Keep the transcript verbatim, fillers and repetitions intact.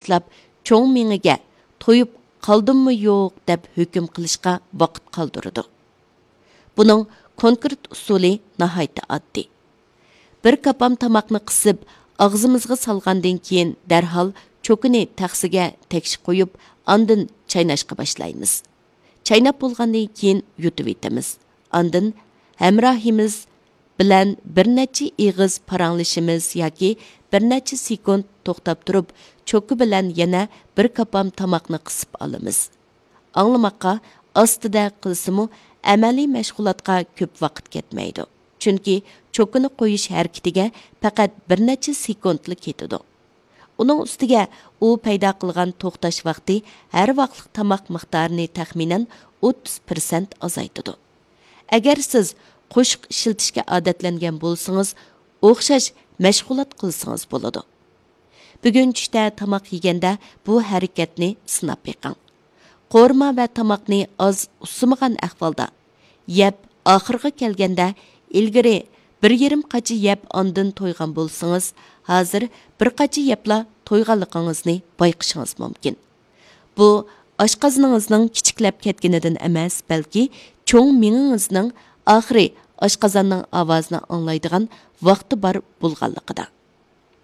دەسلەپ چوڭ مېڭىگە تويۇپ قالدىممۇ يوق دەپ ھۆكۈم قىلىشقا ۋاقىت قالدۇرىدۇ. بۇنىڭ كونكرېت ئۇسۇلى ناھايىتى ئاددىي. بىر كاپام تاماقنى قىسىپ، ئاغزىمىزغا سالغاندىن كېيىن، دەرھال چوكىنى تەخسىگە تەكشى قويۇپ، ئاندىن چايناشقا باشلايمىز. چايناپ بولغاندىن كېيىن يۇتۇۋېتىمىز. ئاندىن ھەمراھىمىز بىلەن بىر نەچچە ئېغىز پاراڭلىشىمىز ياكى بىر نەچچە سېكۇنت توختاپ تۇرۇپ، چوكا بىلەن يەنە بىر كاپام تاماقنى قىسىپ ئالىمىز. ئاڭلىماققا ئاستىدە قىلسىمۇ، ئەمەلىي مەشغۇلاتقا كۆپ ۋاقىت كەتمەيدۇ. چۈنكى چوكىنى قويۇش ھەرىكىتىگە پەقەت بىر نەچچە سېكۇنتلا كېتىدۇ. ئۇنىڭ ئۈستىگە ئۇ پەيدا قىلغان توختاش ۋاقتى ھەر ۋاقىتلىق تاماق مىقدارىنى تەخمىنەن ئوتتۇز پىرسەنت ئازايتىدۇ. ئەگەر سىز قوشۇق ئىشلىتىشكە ئادەتلەنگەن بولسىڭىز، ئوخشاش مەشغۇلات قىلسىڭىز بولىدۇ. بۈگۈن چۈشتە تاماق يېگەندە بۇ ھەرىكەتنى سىناپ بېقىڭ. قورۇما ۋە تاماقنى ئاز ئۇسسىمىغان ئەھۋالدا يەپ، ئاخىرىغا كەلگەندە ئىلگىرى بىر يېرىم قاچا يەپ ئاندىن تويغان بولسىڭىز، ھازىر بىر قاچا يەپلا تويغانلىقىڭىزنى بايقىشىڭىز مۇمكىن. بۇ ئاشقازىنىڭىزنىڭ كىچىكلەپ كەتكىنىدىن ئەمەس، بەلكى چوڭ مېڭىڭىزنىڭ ئاخىرى ئاشقازاننىڭ ئاۋازىنى ئاڭلايدىغان ۋاقتى بار بولغانلىقىدا.